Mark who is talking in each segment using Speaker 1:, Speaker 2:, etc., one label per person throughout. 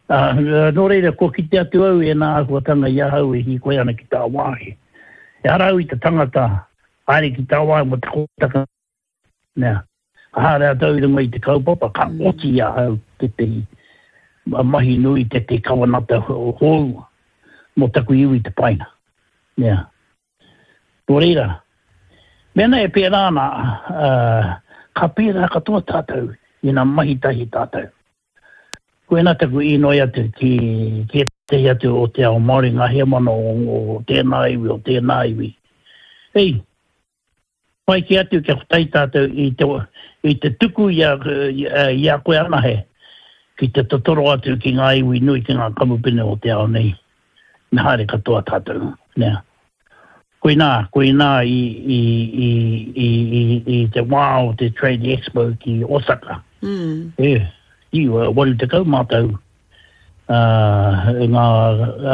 Speaker 1: Ā, nō reira, kua kite atu au i ēnā āhuatanga i ahau e hīkoi ana ki tāwāhi. Ehara au i te tangata haere ki tāwāhi mō te kotaka mea. Ka haere atu au i runga i te kaupapa, ka oti i ahau tētehi mahi nui, tētehi kawenata hou mō taku iwi te painga. Nea. Nō reira, mēnā e pērā ana, ka pērā katoa tātou ina mahi tahi tātou. Koinā taku īnoi atu ki ētahi atu o te ao Māori, ngā heamana o tēnā iwi, o tēnā iwi. Hei, pai kē atu kia kotahi tātou i te, i te tuku i a, i a koe anahe ki te totoro atu ki ngā iwi nui, ki ngā kamupene o te ao nei. Me haere katoa tātou, nē. Koinā, koinā i, i, i, i, i, i te wā o te Trade Expo ki Osaka. Mm. E, i 80 mātou uh, ngā,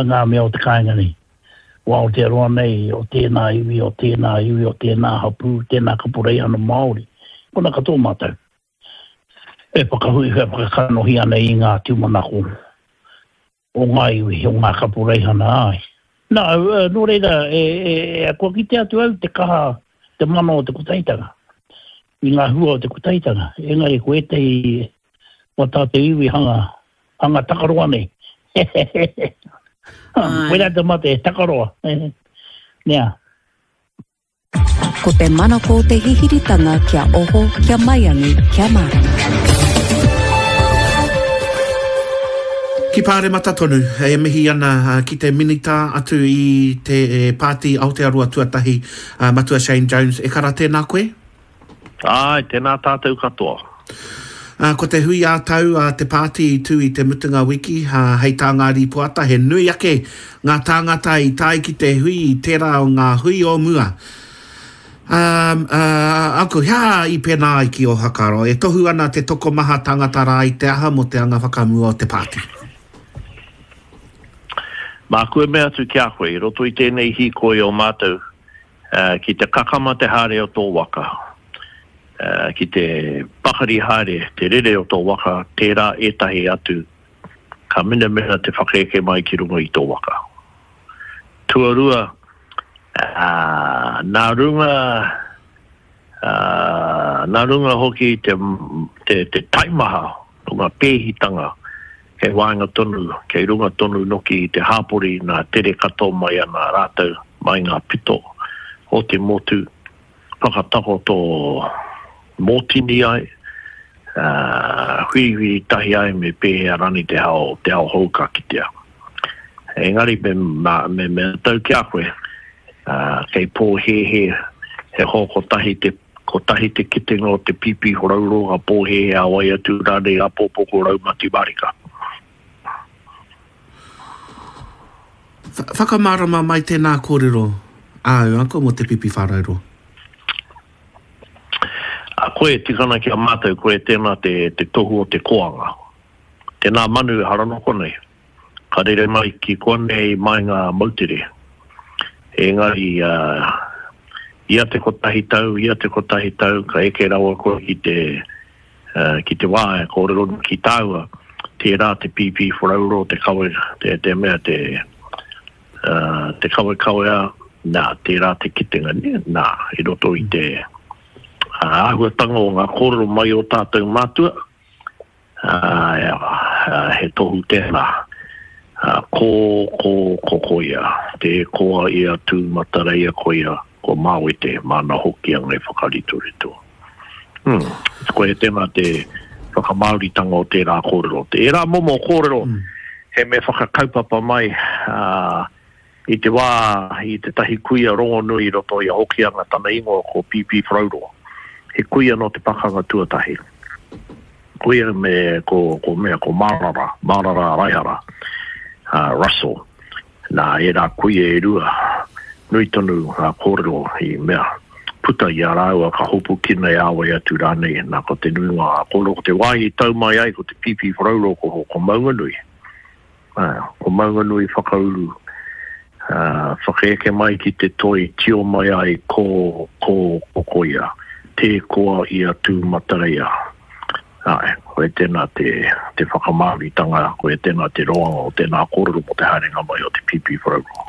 Speaker 1: ngā mea o te kāinga nei. O Aotearoa nei, o tēnā iwi, o tēnā iwi, o tēnā hapū, tēnā kaporeihana Māori. Kona katoa mātou. E whakahui, e whakakanohi ana i ngā tūmanako o ngā iwi, o ngā kaporeihana, āe. Nā, nō reira, e, e, e, kua kite atu au te kaha, te mana o te kotahitanga, i ngā hua o te kotahitanga. Engari, ko ētahi o tātou iwi hanga, hanga takaroa nei. Koirā te mate, takaroa. Nea.
Speaker 2: Ko te manako o te hihiritanga kia oho, kia maiangi, kia mārama.
Speaker 3: Ki Pāremata tonu, e mihi ana ki te Minita atu i te Pāti Aotearoa Tuatahi, Matua Shane Jones. E kara, tēnā koe.
Speaker 4: Āe, tēnā tātou katoa.
Speaker 3: Ko te hui ā-tau a te pāti i tū i te mutunga wiki, hei tā ngā rīpoata he nui ake ngā tāngata i tae ki te hui i tērā o ngā hui o mua. Uncle, he aha i pēnā ai ki ō whakaaro? E tohu ana te tokomaha tāngata rā i te aha mō te anga whakamua o te pāti?
Speaker 4: Māku e mea atu ki a koe, i roto i tēnei hīkoi o mātou, Ki te kakama te haere o tō waka, ki te pakari haere te rere o tō waka, tērā ētahi atu ka minamina te whakaeke mai ki runga i tō waka. Tuarua, nā runga, nā runga hoki i te taimaha o ngā pēhitanga Kei waenga tonu, kei runga tonu noki i te hāpori nā tere katoa mai ana rātou mai ngā pito o te motu, whakatakoto mōtini ai, ā, whiriwhiri tahi ai me pēhea rani te hao, te ao hou ka kitea. Engari me, me mea tau ki a koe, ā, kei pōhēhē he hoa kotahi te Kotahi te kitenga o te pīpī horauro ka pōhēhē a wai atu rānei āpōpō ko Raumati Marika.
Speaker 3: Whakamārama mai tēnā kōrero āu, Uncle, mō te pipi whārauro.
Speaker 4: A koe e tika ana ki a mātou, koe tēnā te, te tohu o te koanga. Tēnā manu ehara nō konei. Ka rere mai ki konei mai ngā moutere. Engari, ia te kotahi tau, ia te kotahi tau, ka eke rawa koe ki te, ki te wā e kōrero ana ki tāua, tērā te pīpīwharauro, te kawe, te, te mea, te, te kawekawea, nā, tērā te kitenga, nē, nā, i roto i te āhuatanga o ngā kōrero mai o tātou mātua, Ā, he tohu tēnā. Ko, ko, ko koia, tē koa ia Tūmatareia koia, ko Māwete, māna hokianga e whakaritorito. Hm, koia tēnā te whakamāoritanga o tērā kōrero. Ērā momo kōrero, he mea whakakaupapa mai, ā, I te wā i tētahi kuia rongonui i roto i a Hokianga tana ingoa ko Pīpī Wharauro. He kuia nō te pakanga tuatahi. Kuia me ko, ko mea, ko Marara, Marara Raihara, uh, Russell. Nā ērā kuia e rua, nui tonu ngā kōrero i mea puta i a rāua ka hopukina e āwai atu rānei. Nā ko te nuinga o ngā kōrero, ko te wāhi i tau mai ai ko te Pīpī Wharauro ko, ko Maunganui. Ko Maunganui whakauru, whakaeke mai ki te toi tio mai ai ko, ko, ko koia, tē koa ia Tūmatareia. Āe, koia tēnā te, te whakamāoritanga, koia tēnā te roanga o tēnā kōrero mō te haerenga mai o te Pīpīwharauroa.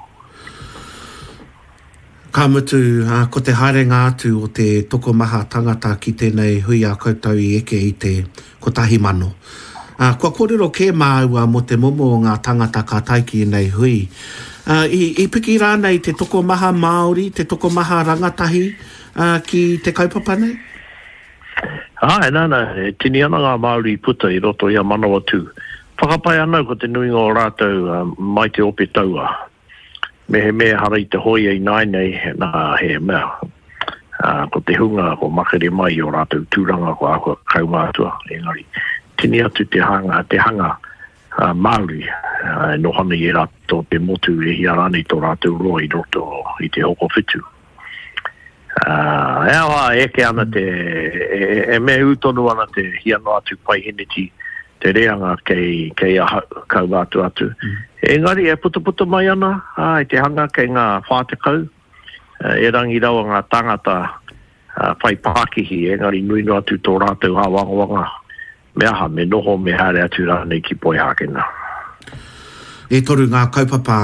Speaker 3: Ka mutu, ā, ko te haerenga atu o te tokomaha tangata ki tēnei hui a koutou i eke i te 1,000. Ā, kua kōrero kē māua mō te momo o ngā tangata ka tae ki ēnei hui. Ā, i, i piki rānei te tokomaha Māori, te tokomaha rangatahi, ā, ki te kaupapa nei?
Speaker 4: Āe, nā, nā, e tini ana ngā Māori i puta i roto i a Manawatū. Whakapae ana au ko te nuinga o rātou mai te ope tauā. Mehemea ehara i te hōia ināianei, nā, he mea, ko te hunga kua makere mai i ō rātou tūranga kua āhua kaumātua, engari, tini atu te hanga, te hanga Māori e noho ana i ērā o te motu e hia rānei tō rātou roa i roto i te hokowhitu. He aha, e eke ana te, e mea ū tonu ana te hia noa atu paiheneti te reanga kei, kei ahau, kaua atu atu. Engari e putaputa mai ana, i te hanga kei ngā 40, erangi rawa ngā tāngata whai pākihi, engari nui noa atu tō rātou āwangawanga Me aha, me noho, me haere atu rānei ki Poihākena.
Speaker 3: E toru ngā kaupapa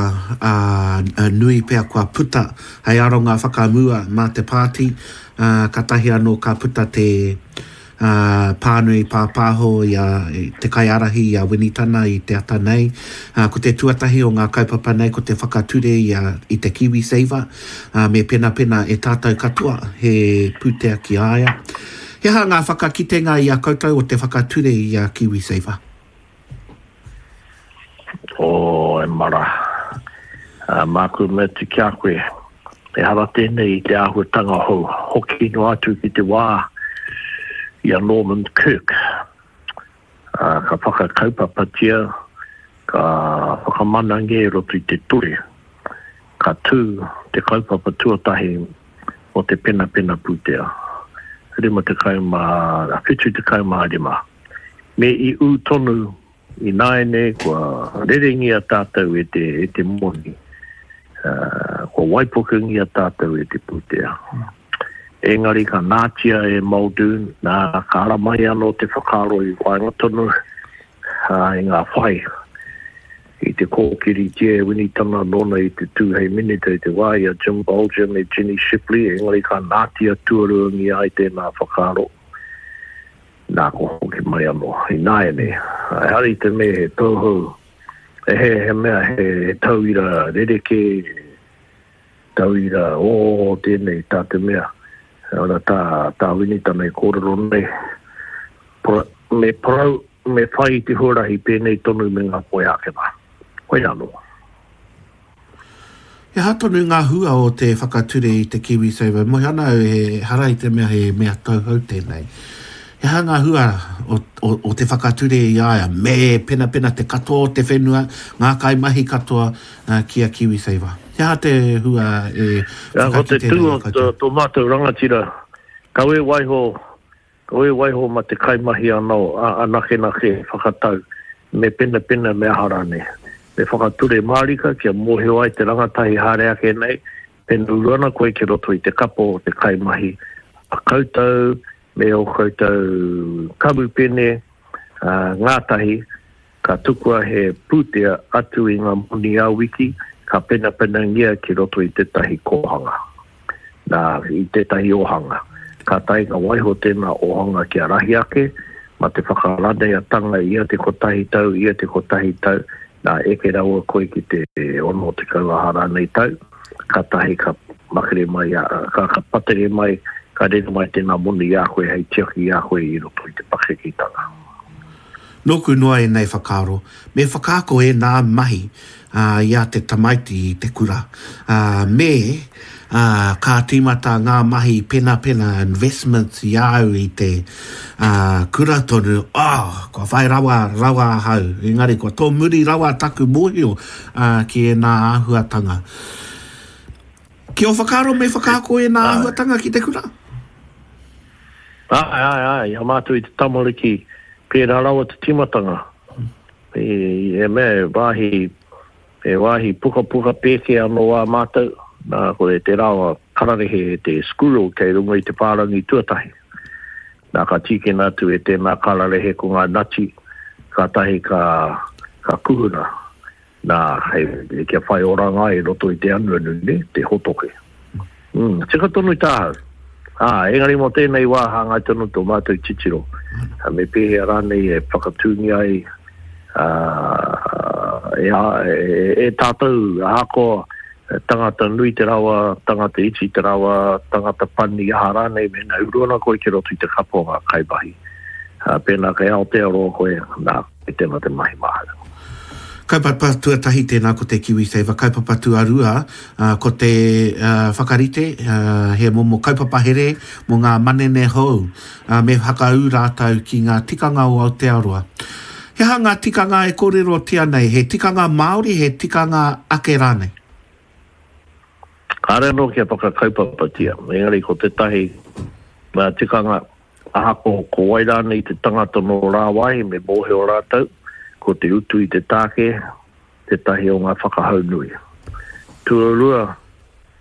Speaker 3: nui pea kua puta hei aronga whakamua mā te pāti, kātahi anō ka puta te pānui pāpāho i a te kaiārahi i a Winitana i te ata nei. Ko te tuatahi o ngā kaupapa nei ko te whakature i a i te KiwiSaver, me penapena e tātou katoa he pūtea ki a ia. He aha ngā whakakitenga i a koutou o te whakature i a KiwiSaver?
Speaker 4: Oh, e mara. Māku me atu ki a koe, ehara tēnei i te āhuatanga hou. Hoki noa atu ki te wā i a Norman Kirk. Ka whakakaupapatia, ka whakamanangia i roto i te ture. Ka tū te kaupapa tuatahi mō te penapena pūtea, 75. Me i ū tonu ināianei kua rerengia tātou e te, e te moni, kua waipukengia tātou e te pūtea. Engari ka nātia e Muldoon, nā, ka ara mai anō te whakaaro i waenga tonu i ngā whai i te kōkiritia e Winitana nōna i te tū hei Minita i te wā i a Jim Bolger me Jenny Shipley, engari ka nātia tuaruangia ai tēnā whakaaro, nā kua hoki mai anō ināianei. Ehara i te mea he tauhou, he, he mea he tauira rerekē, Tauira, Oo, tēnei, tā te mea, ora tā, tā Winitana e kōrero nei, pra, me parau, me whai i te huarahi pēnei tonu me ngā Poihākena. Koia anō.
Speaker 3: He aha tonu ngā hua o te whakature i te KiwiSaver? Moe ana au ehara i te mea he mea tauhou tēnei. He aha ngā hua o, o, o te whakature i a ia? Me penapena te katoa o te whenua, ngā kaimahi katoa, ki a KiwiSaver. He aha te hua e
Speaker 4: whakakite nei i a koutou? Ko te tū o tō mātou rangatira, kawe waiho, kawe waiho ma te kaimahi anō, anakenake e whakatau, me penapena me aha rānei. Me whakature mārika kia mōhio ai te rangatahi haere ake nei, pena uru ana koe ki roto i te kapo o te kaimahi a koutou me ō koutou kamupene ngātahi, Ka tukua he pūtea atu i ngā moni ā-wiki ka penapenangia ki roto i tētahi kōhanga, nā, i tētahi ōhanga. Kātahi ka waiho tēnā ōhanga kia rahi ake, mā te whakaraneatanga ia te kotahi tau, ia te kotahi tau, nā, eke rawa koe ki te 60 aha rānei tau, kātahi ka makere mai, ka, ka patere mai, ka rere mai tēnā moni i a koe hei tiaki i a koe i roto i te pakeketanga.
Speaker 3: Nōku noa ēnei whakaaro, me whakaako ēnā mahi i a te tamaiti i te kura, me ka tīmata ngā mahi penapena, investments, i a au i te kura tonu, oh, kua whai rawa, rawa ahau, engari kua tōmuri rawa taku mōhio ki ēnā āhuatanga. Ki ō whakaaro me whakaako ēnā āhuatanga ki te kura?
Speaker 4: Āe, āe, āe, i a mātou i te tamariki, pērā rawa te tīmatanga. I, he mea, he wāhi, he wāhi pukapuka pēke anō ā mātou, nā, ko te rawa kararehe, te squirrel kei runga i te whārangi tuatahi. Nā, ka tīkina atu e tēnā kararehe ko ngā nati, kātahi ka, ka kuhuna, nā, hei, kia whai oranga ai i roto i te anuanu, nē, te hotoke. Mm, tika tonu tāhau. Ā, engari mō tēnei wā hāngai tonu tō mātou titiro. Me pēhea rānei e whakatūngia ai ā, e, e, e tātou, ahakoa tangata nui te rawa, tangata iti te rawa, tangata pani, aha rānei, mēnā uru ana koe ki roto i te kapa o ngā kaimahi. Ā, pēnā kei Aotearoa koe, nā, koe tēnā te mahi māhau.
Speaker 3: Kaupapa tuatahi tēnā ko te KiwiSaver, kaupapa tuarua ko te whakarite he momo kaupapa here mō ngā manene hou me whakaū rātou ki ngā tikanga o Aotearoa. He aha ngā tikanga e kōrerotia nei? He tikanga Māori, he tikanga ake rānei?
Speaker 4: Kāre anō kia whakakaupapatia, engari ko tētahi tikanga, ahakoa ko wai rānei te tangata nō rāwāhi me mōhio rātou, ko te utu i te tāke tētahi o ngā whakahau nui. Tuarua,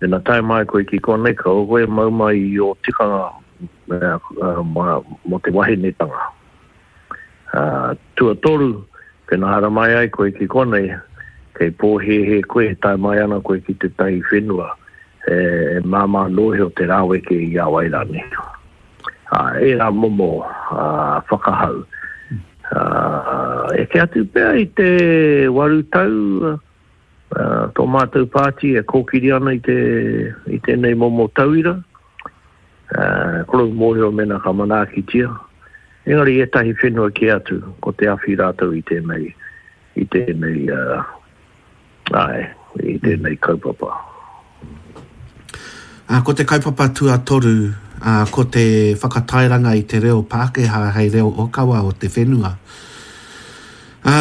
Speaker 4: ina tae mai koe ki konei, kaua koe e mau mai i ō tikanga mō te wahinetanga. Ā, tuatoru, pēnā haramai ai koe ki konei, kei pōhēhē koe e tae mai ana koe ki tētahi whenua e māmā noa iho te raweke i a wai rānei. Ā, ērā momo whakahau. Ā, eke atu pea i te 8 tau tō mātou pāti e kōkiri ana i te, i tēnei momo tauira. Ā, kore mōhio mēnā ka manaakitia. Engari ētahi whenua kē atu, ko te awhi rātou i tēnei, i tēnei, āe, i tēnei kaupapa.
Speaker 3: Ā, ko te kaupapa tuatoru, ā, ko te whakatairanga i te reo Pākehā hei reo ōkawa o te whenua. Ā,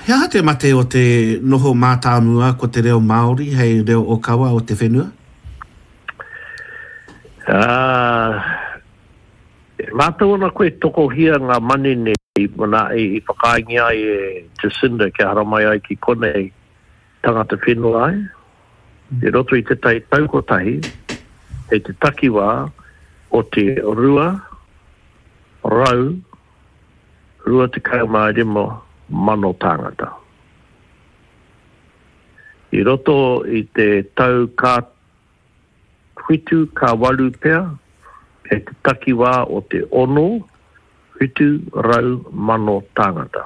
Speaker 3: he aha te mate o te noho mātāmua ko te reo Māori hei reo ōkawa o te whenua?
Speaker 4: Ā, E mātau ana koe tokohia ngā manene i i whakaaengia ai e Jacinda kia haramai ai ki konei tangata whenua ai? I roto i tētahi tau kotahi, kei te takiwā o te 225,000 tāngata. I roto i te tau ka whitu ka waru pea, kei te takiwā o te ono, 700,000 tāngata.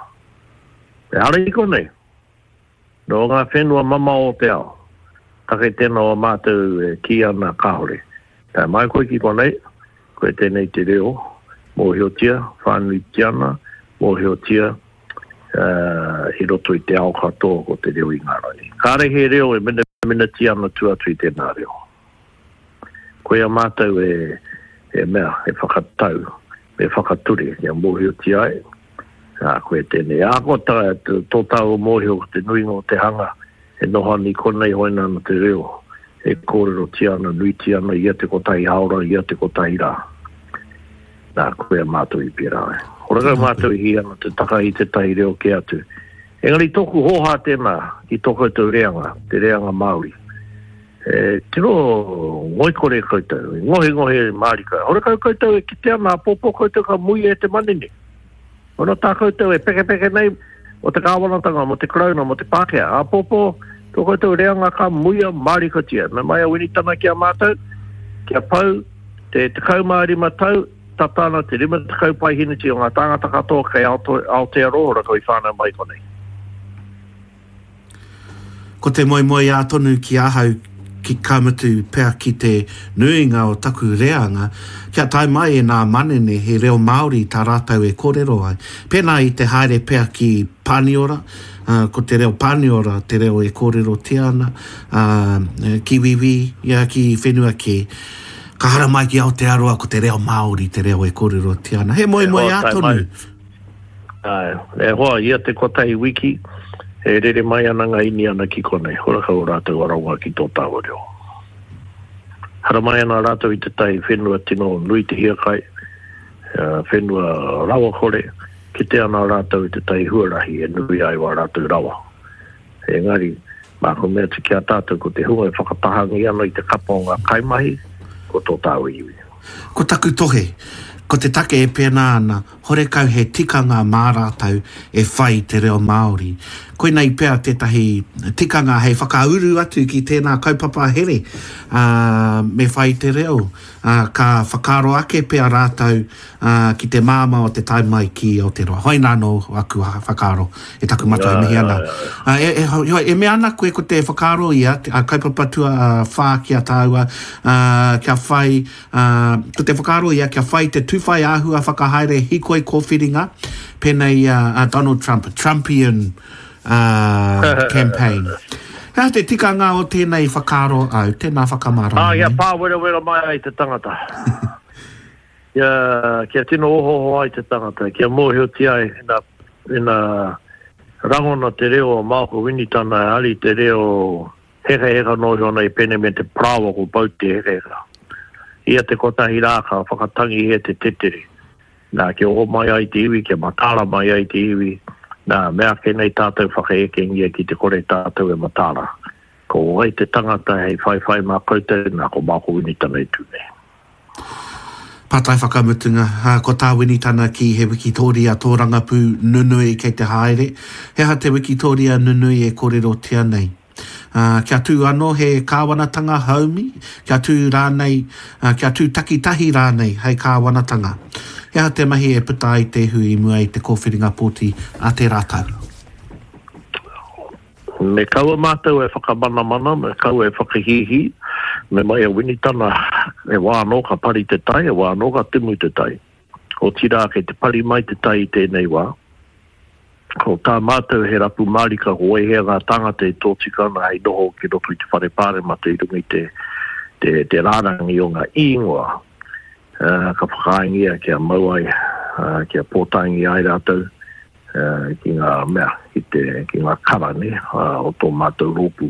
Speaker 4: Ehara i konei, nō ngā whenua mamao o te ao, take tēnā o mātou e kī ana kāore. Tae mai koe ki konei, koe tēnei te reo, mōhiotia whānuitia ana, mōhiotia i roto i te ao katoa ko te reo Ingarangi. Kāre he reo e minaminatia ana tua atu i tēnā reo. Koia mātou e, e mea, e whakatau, e whakature kia mōhiotia ai, ā, koia tēnei. Ahakoa tā, tō tāua mōhio ko te nuinga o te hanga e noho ana i konei hoina ana te reo e kōrerotia ana nuitia ana ia te kotahi haora, ia te kotahi rā. Nā, koia mātou i pērā ai. Horakau mātou i hī ana te takahi tētahi reo kē atu. Engari tōku hōhā tēnā ki tō koutou reanga, te reanga Māori. E tino ngoikore koutou, e ngohengohe mārika. Horakau koutou e kite ana āpōpō koutou ka muia e te manene. Ono tā koutou e pekepeke nei mō te kāwanatanga, mō te Karauna, mō te Pākehā. Āpōpō, tō koutou reanga ka muia mārikatia. Me mai a Winitana ki a mātou, kia pau te 15 tau, tata ana te 50 paeheneti o ngā tāngata katoa kei Aotearoa rātou i whānau mai konei.
Speaker 3: Ko te moemoeā tonu ki ahau ki ka mutu pea ki te nuinga o taku reanga, kia tae mai e nā manene he reo Māori tā rātou e kōrero ai. Pēnā i te haere pea ki Pāniora, ko te reo Pāniora te reo e kōrerotia ana, ā, ki Wīwī, ia ki whenua kē. Ka haramai ki Aotearoa ko te reo Māori te reo e kōrerotia ana. He moemoeā tonu.
Speaker 4: Āe, e hoa, ia te kotahi wiki, e rere mai ana ngā Iniana ki konei, horakau o rātou aronga ki tō tāua reo. Haramai ana rātou i tētahi whenua tino nui te hiakai, whenua rawakore, kite ana rātou i tētahi huarahi e nui ai wā rātou rawa. Engari, māku mea atu ki a tātou ko te hunga e whakatahangi ana i te kapa o ngā kaimahi, ko tō tāua iwi.
Speaker 3: Ko taku tohe, ko te take e pēnā ana, horekau he tikanga mā rātou e whai i te reo Māori. Koinei pea tētahi tikanga hei whakauru atu ki tēnā kaupapa here, ā, me whai i te reo, ā, ka whakaaro ake pea rātou, ā, ki te māmā o te tae mai ki Aotearoa. Hoina anō aku whakaaro e taku matua e mihi ana. Ā, e, e, heoi, e mea ana koe ko te whakaaro ia, a kaupapa tuawhā ki a tāua, ā, kia whai, ā, ko te whakaaro ia kia whai te tūwhai āhua whakahaere hikoi kōwhiringa, pēnei i a, a Donald Trump, Trumpian, ā, campaign. He aha te tikanga o tēnei whakaaro au? Tēnā whakamārama
Speaker 4: Ā, kia
Speaker 3: mai.
Speaker 4: pāwerawera mai ai te tangata. Kia, kia tino ohooho ai te tangata, kia mōhiotia ai ina, ina rangona te reo o Malcolm Winitana e ari te reo hekaheka noa iho ana i pēnei me te parāoa ko pau te hekaheka. Ia te kotahi rā ka whakatangihia te tetere. Nā, kia oho mai ai te iwi, kia mataara mai ai te iwi, nā, meake nei tātou whakaekengia ki te kore tātou e mataara. Ko wai te tangata hei whaiwhai mā koutou, nā, ko Malcolm Winitana e tū nei.
Speaker 3: Pātai whakamutunga, ko tā Winitana kī he wikitōria tōrangapū nunui kei te haere. He aha te wikitōria nunui e kōrerotia nei? Kia tū anō he kāwanatanga haumi, kia tū rānei, kia tū takitahi rānei hei kāwanatanga? He aha te mahi e puta ai te ihu i mua i te kōwhiringa pōti a tērā tau?
Speaker 4: Me kaua mātou e whakamanamana, me kaua e whakahīhī, me mai a Winitana, he wā anō ka pari te tai, he wā anō ka tumu te tai. Otirā, kei te pari mai te tai i tēnei wā. Ko tā mātou he rapu mārika ko wai hea ngā tāngata e tōtika ana hei noho ki roto i te Whare Pāremata i runga i te, te, te rārangi o ngā īngoa ka whakaaengia kia mau ai, kia pōtaengia ai rātou. ki ngā mea, ki te, ki ngā kara, nē, o tō mātou rōpū.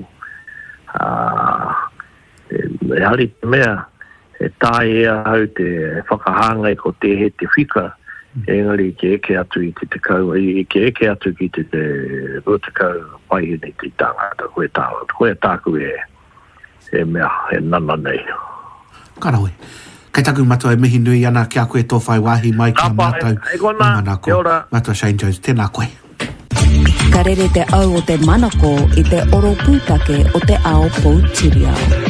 Speaker 4: Ā, ehara i te mea, e taea e ahau te whakahāngai ko tēhea te whika, engari kia eke atu i te tekau, kia eke atu ki te 20 paihene te tāngata, koia tā, koia tāku e, e mea, e nana nei.
Speaker 3: Ka rawe. Kei taku matua e mihi nui ana ki a koe tō whai wāhi mai ki a mātou o Manako. Matua Shane Jones, tēnā koe.
Speaker 2: Ka rere te au o te manako i te oro pūtake o te ao poutiriao.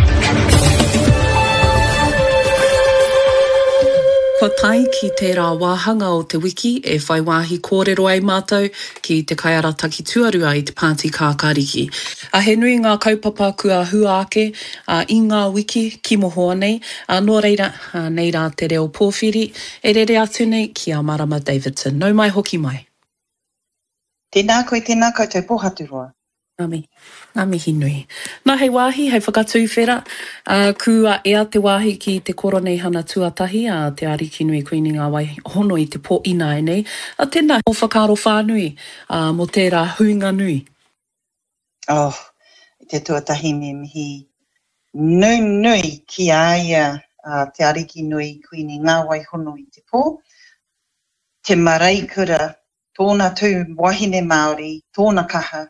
Speaker 5: Kua tae ki tērā wāhanga o te wiki e whai wāhi kōrero ai mātou ki te kaiarataki tuarua i te Pāti Kākāriki. A he nui ngā kaupapa kua hua ake i ngā wiki ki mohoa nei, ā, nō reira, nei rā te reo pōwhiri e rere atu nei ki a Marama Davidson. Nau mai hoki mai.
Speaker 6: Tēnā koe, tēnā koutou Pōhaturoa.
Speaker 5: Ngā mihi, ngā mihi nui. Nā, hei wāhi, hei whakatūwhera, ā, kua ea te wāhi ki te Koroneihana tuatahi a Te Arikinui Kuini Ngā Wai Hono i te pō ināianei. Ā, tēnā, ō whakaaro whānui, ā, mō tērā huinga nui.
Speaker 6: Oh, i te tuatahi me mihi nunui ki a ia a Te Arikinui Kuini Ngāwai Hono i te Pō, te mareikura, tōna tū wahine Māori, tōna kaha,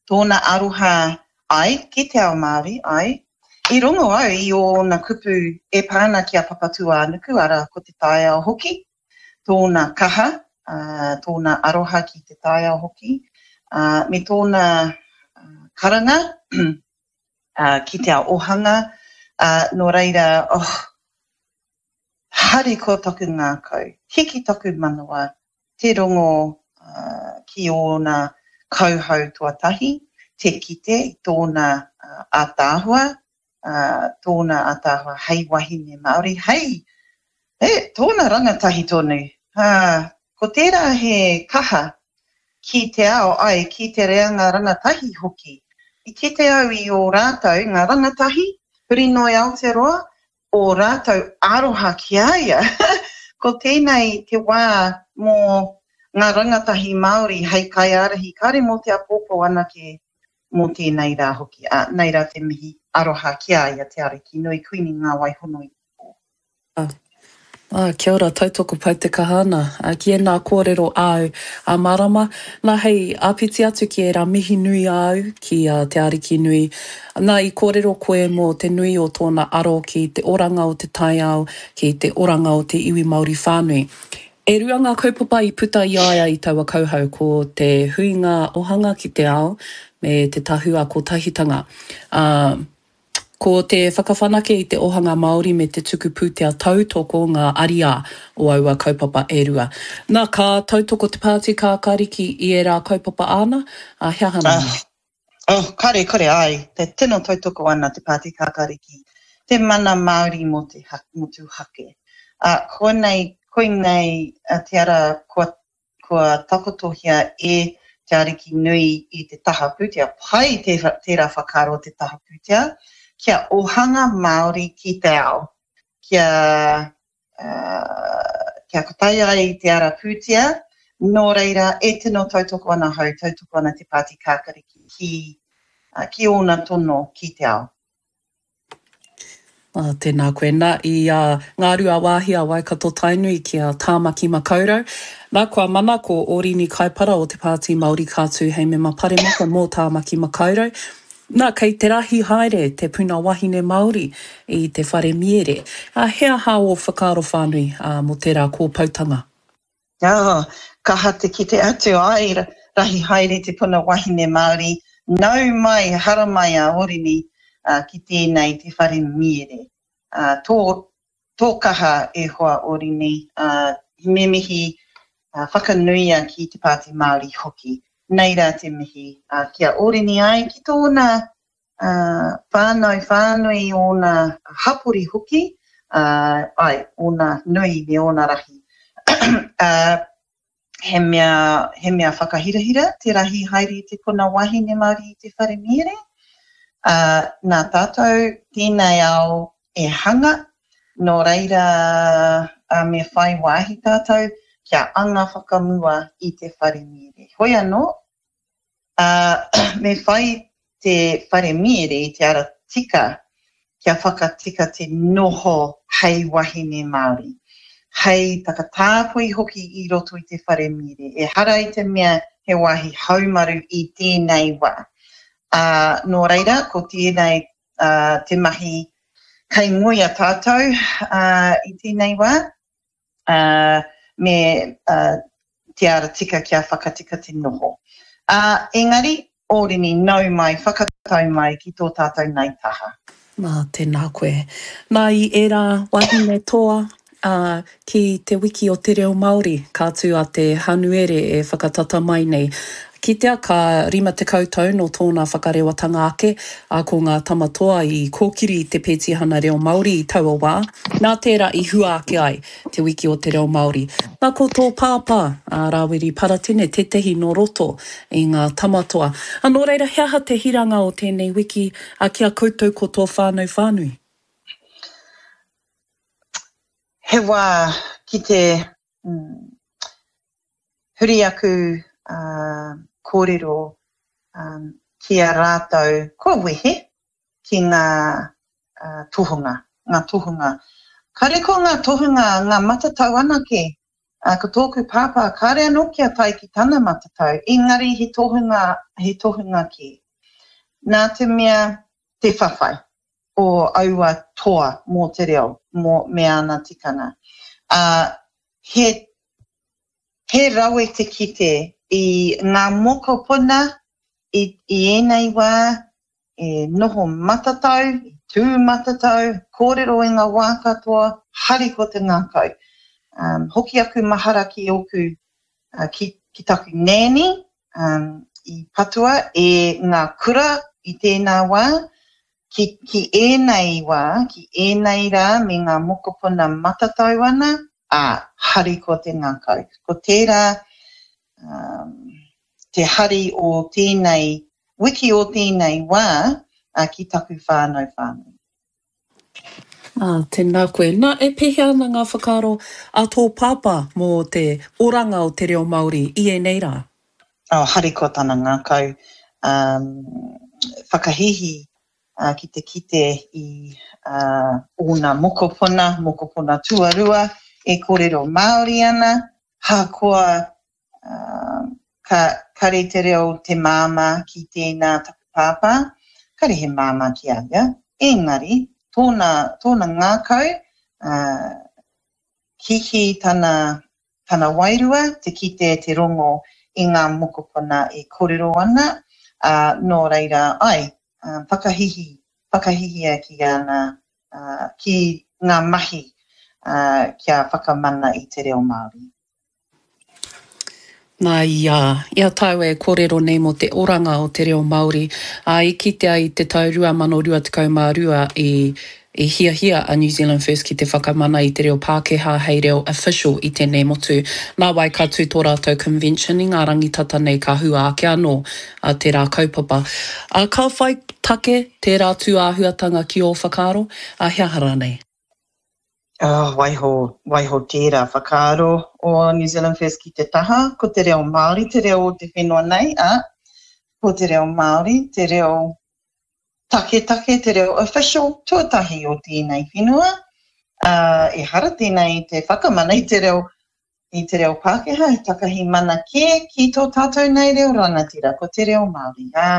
Speaker 6: tōna aroha ai ki te ao Māori, ai. I rongo au i ōna kupu e pā ana ki a Papatūānuku, arā, ko te taiao hoki, tōna kaha, tōna aroha ki te taiao hoki, me tōna karanga ki te ao ohanga, nō reira, oh, harikoa taku ngākau, hiki taku manawa, te rongo ki ōna kauhau tuatahi, te kite i tōna ātaahua, tōna ātaahua hei wahine Māori, hei, e, tōna rangatahi tonu. Ā, ko tērā he kaha ki te ao, ai, ki te reanga rangatahi hoki. I kite au i ō rātou, ngā rangatahi, huri noa i Aotearoa, ō rātou aroha ki a ia. Ko tēnei te wā mō ngā rangatahi Māori hei kaiārahi, kāre mō te āpōpō anake mō tēnei rā hoki, ā, nei rā te mihi aroha ki a ia, Te Ariki nui, Kuini Ngā Wai Hono i te Pō.
Speaker 5: Ā, kia ora, tautoko pai te kaha ana ki ēnā kōrero āu, ā Marama. Nā, hei āpiti atu ki ērā mihi nui āu ki a Te Arikinui, nā, i kōrero koe mō te nui o tōna aro ki te oranga o te taiao, ki te oranga o te iwi Māori whānui. E rua ngā kaupapa i puta i a ia i taua kauhau, ko te huinga ohanga ki te ao me te tahua kotahitanga. Ā, Ko te whakawhanake i te ohanga Māori me te tuku pūtea tautoko ngā ariā o aua kaupapa e rua. Nā, ka tautoko te Pāti Kākāriki i ērā kaupapa āna, ā, he aha nā?
Speaker 6: Oh, kare, kore, āe, te tino tautoko ana te Pāti Kākāriki, te mana Māori mō te motuhake. Ā, koinei, koinei te ara kua kua takotohia e Te Ariki Nui i te taha pūtea, pai tērā whakaaro te taha pūtea, kia ohanga Māori ki te ao, kia, kia kotahi ai te ara pūtea, nō reira e tino tautoko ana ahau, tautoko ana te Pāti Kākariki ki, ki ōna tono ki te ao.
Speaker 5: Ā, tēnā koe. Nā, i a Ngāruawāhia Waikato Tainui ki a Tāmaki Makaurau. Nā, kua mana ko Ōrini Kaipara o Te Pāti Māori ka tū hei mema paremata mō Tāmaki Makaurau. Nā, kei te rahi haere te puna wahine Māori i te whare miere. Ā, he aha ō whakaaro whānui, ā, mō tērā kōpoutanga?
Speaker 6: Oh, kaha te kite atu, ai, rahi haere te puna wahine Māori, nau mai, haramai a Orini ki tēnei te whare miere. Tō, tō kaha e hoa Orini, me mihi whakanuia ki te Pāti Māori hoki. Nei rā te mihi ki a Orini ai, ki tōna ā, whānau whānui ōna hapori hoki, ā, āe, ōna nui me ōna rahi. Ā, he mea, he mea whakahirahira te rahi haere i te puna wahine Māori i te whare miere. Ā, nā tātou tēnei ao e hanga, nō reira, ā, me whai wāhi tātou kia anga whakamua i te whare miere. Hoi anō, Ā, me whai te whare miere i te ara tika kia whakatika te noho hei wahine Māori, hei takatāpui hoki i roto i te whare miere. Ehara i te mea he wāhi haumaru i tēnei wā. Ā, nō reira, ko tēnei te mahi kei ngoia tātou i tēnei wā. ā, me te ara tika kia whakatika te noho. Ā, engari, Ōrini, nau mai, whakatau mai ki tō tātou nei taha.
Speaker 5: Nā, tēnā koe. Nā, i ērā wahine toa, ā, ki Te Wiki o te Reo Māori, ka tū a te Hanuere e whakatata mai nei. Kitea ka 50 tau nō tōna whakarewatanga ake, ā, ko ngā tama toa i kōkiri i te petihana reo Māori i taua wā, Nā tērā i hua ake ai Te Wiki o te Reo Māori. Nā ko tō pāpā, a Rāwiri Paratene, tētehi nō roto i ngā tamatoa. A nō reira, he aha te hiranga o tēnei wiki ki a koutou ko tō whānau whānui?
Speaker 6: He wā ki te huri aku kōrero ki a rātou kua wehe, ki ngā tohunga, ngā tohunga. Kāre ko ngā tohunga, ngā matatau anake, ko tōku pāpā kāre anō kia tae ki tana matatau, engari he tohunga, he tohunga kē. Nā te mea te whawhai o aua toa mō te reo, mō, me āna tikanga. Ā, he, he rawe te kite i ngā mokopuna i, i ēnei wā, e noho matatau, tū matatau, kōrero i ngā wā katoa, hariko te ngākau. Um, hoki aku mahara ki ōku, uh, ki, ki taku nēni, um, i patua e ngā kura i tēnā wā, ki, ki ēnei wā, ki ēnei rā me ngā mokopuna matatau ana, ā, hariko te ngākau. Ko tērā, um, te hari o tēnei wiki o tēnei wā ki taku whānau whānui.
Speaker 5: Ā, tēnā koe. Nā, e pēhea ana ngā whakaaro a tō pāpā mō te oranga o te reo Māori i ēnei rā?
Speaker 6: Oh, harikoa tana ngākau, um, whakahīhī ki te kite i ōna mokopuna, mokopuna tuarua. e kōrero Māori ana, hakoa ka kare te reo te māmā ki tēnā taku pāpā, kare he māmā ki a ia, engari tōna, tōna ngākau, hihi tana, tana wairua te kite, te rongo i ngā mokopuna e kōrero ana, ā, nō reira, ai, whakahihi, whakahihia ki ana, ki ngā mahi kia whakamana i te reo Māori.
Speaker 5: Nā, i a, i a tāua e kōrero nei mō te oranga o te reo Māori, ā, i kitea i te tau 2022 i, i hiahia a New Zealand First ki te whakamana i te reo Pākehā hei reo official i tēnei motu. Nāwai ka tū tō rātou convention i ngā rangi tata nei ka hua ake anō a tērā kaupapa. Ā, ka whai take tērā tū āhuatanga ki ō whakaaro, ā, he aha rānei?
Speaker 6: Oh, waiho, waiho tērā whakaaro o New Zealand First ki te taha, ko te reo Māori te reo o te whenua nei, ā, ko te reo Māori te reo taketake, te reo official tuatahi o tēnei whenua, ā, ehara tēnei i te whakamana i te reo, i te reo Pākehā, he takahi mana kē ki tō tātou nei reo rangatira, ko te reo Māori. Ā,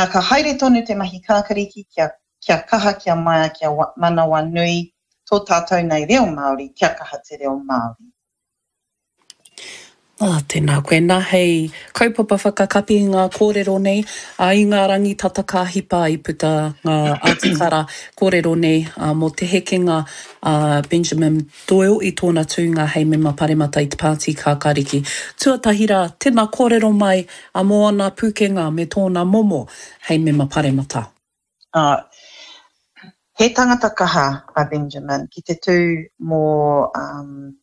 Speaker 6: ā, ka haere tonu te mahi kākariki kia kia kaha, kia maia, kia manawanui tō tātou nei reo Māori, kia kaha te reo Māori.
Speaker 5: Ah, tēnā koe. Nā, hei kaupapa whakakapi i ngā kōrero nei, ā, i ngā rangi tata ka hipa i puta ngā ātikara kōrero nei mō te hekenga a Benjamin Doyle i tōna tūnga hei mema paremata i te Pāti Kākāriki. Tuatahi rā, tēnā kōrero mai mō ana pūkenga me tōna momo hei mema paremata.
Speaker 6: Ā, he tangata kaha a Benjamin ki te tū mō, um,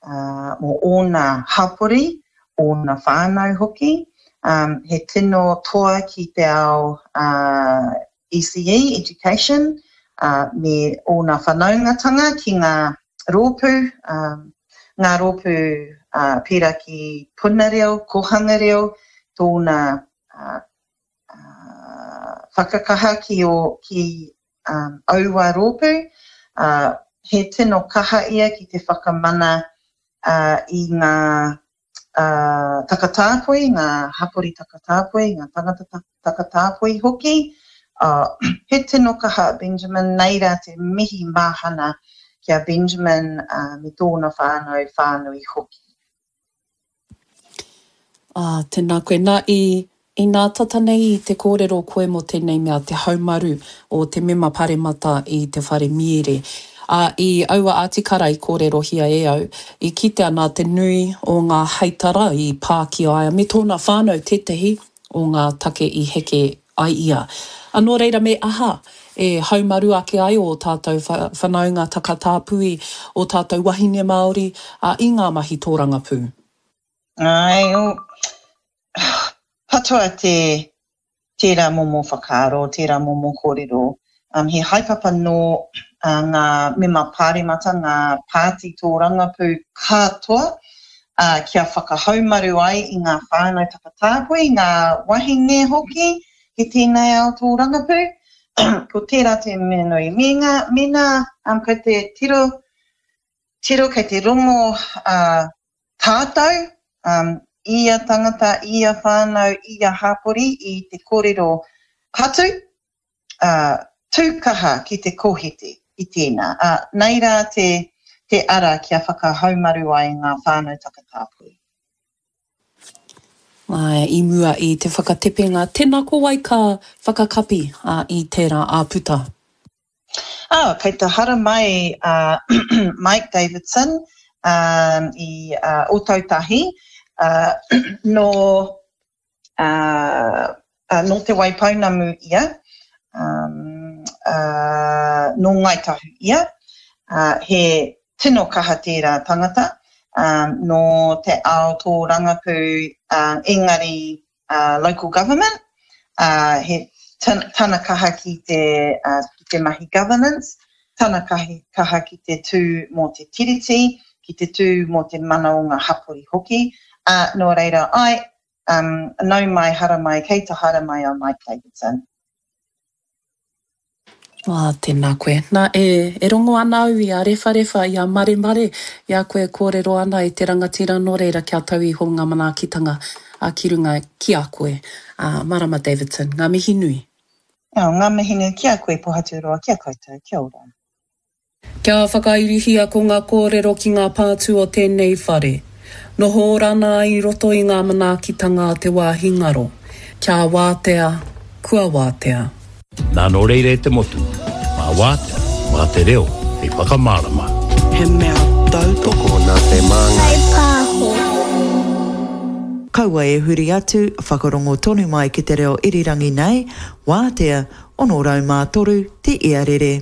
Speaker 6: uh, mō ōna hapori, ōna whānau hoki. Um, he tino toa ki te ao uh, ECE, education, uh, me ōna whanaungatanga ki ngā rōpū, um, ngā rōpū uh, pērā ki Puna Reo, Kohanga Reo, tōna uh, whakakaha ki ō, ki aua rōpū, he tino kaha ia ki te whakamana i ngā takatāpui, ngā hapori takatāpui, ngā tangata takatāpui hoki. He tino kaha a Benjamin, nei rā te mihi mahana ki a Benjamin me tōna whānau whānui hoki.
Speaker 5: Ā, tēnā koe. Nā, i, inā tata nei i te kōrero koe mō tēnei mea te haumaru o te mema paremata i te whare miere. Ā, i aua ātikara i kōrerohia e au, i kitea nā te nui o ngā heitara i pā ki a ia me tōna whānau tētahi o ngā take i heke ai ia. Ā, nō reira me aha e haumaru ake ai ō tātou whanaunga takatāpui, ō tātou wahine Māori, ā, i ngā mahi tōrangapū?
Speaker 6: Āe, patua te, tērā momo whakaaro, tērā momo kōrero. Um, he haepapa nō uh, ngā mema pāremata, ngā pāti tōrangapū katoa, uh, kia whakahaumaru ai i ngā whānau takatāpui, ngā wahine hoki ki tēnei ao tōrangapū. Ko tērā te mea nui. Me ngā, mēnā um, kei te tiro, tiro kei te rongo uh, Tātou, ia tangata, ia whānau, ia hapori i te kōrero patu, ā, tū kaha ki te kōhete i tēnā, ā, nei rā te, te ara kia whakahaumaru ai ngā whānau takatāpui.
Speaker 5: Āe, i mua i te whakatepenga, tēnā ko wai ka whakakapi, ā, i tērā āputa?
Speaker 6: Ā, kei te haramai a Mike Davidson i Ōtautahi, nō, nō Te Waipounamu ia, nō Ngāi Tahu ia, he tino kaha tērā tangata, nō te ao tōrangapū, engari local government, ā, he tana kaha ki te, ki te mahi governance, tana kaha ki te tū mō te tiriti, ki te tū mō te mana o ngā hapori hoki, ā, nō reira, āe, um, nau mai, haramai, kei te haramai a Mike Davidson.
Speaker 5: Ā, tēnā koe. Nā, e, e rongo ana au i a Rewharewha, i a Maremare, i a koe e kōrero ana e te rangatira, nō reira kia tau iho ngā manaakitanga, ā, ki runga ki a koe. Ā, Marama Davidson, ngā mihi nui.
Speaker 6: Ā, ngā mihi nui ki a koe Pohaturoa, ki a koutou, kia ora.
Speaker 5: Kia whakairihia ko ngā kōrero ki ngā pātū o tēnei whare. Noho ora ana i roto i ngā manaakitanga a te wāhi ngaro. Kia wātea, kua wātea.
Speaker 7: Nā nō reira e te motu, mā wātea, mā te reo hei whakamārama.
Speaker 8: He mea tautoko
Speaker 9: nā te Māngai.
Speaker 10: Whaipāho.
Speaker 11: Kaua e huri atu, whakarongo tonu mai ki te reo irirangi nei, wātea, 603 te iarere.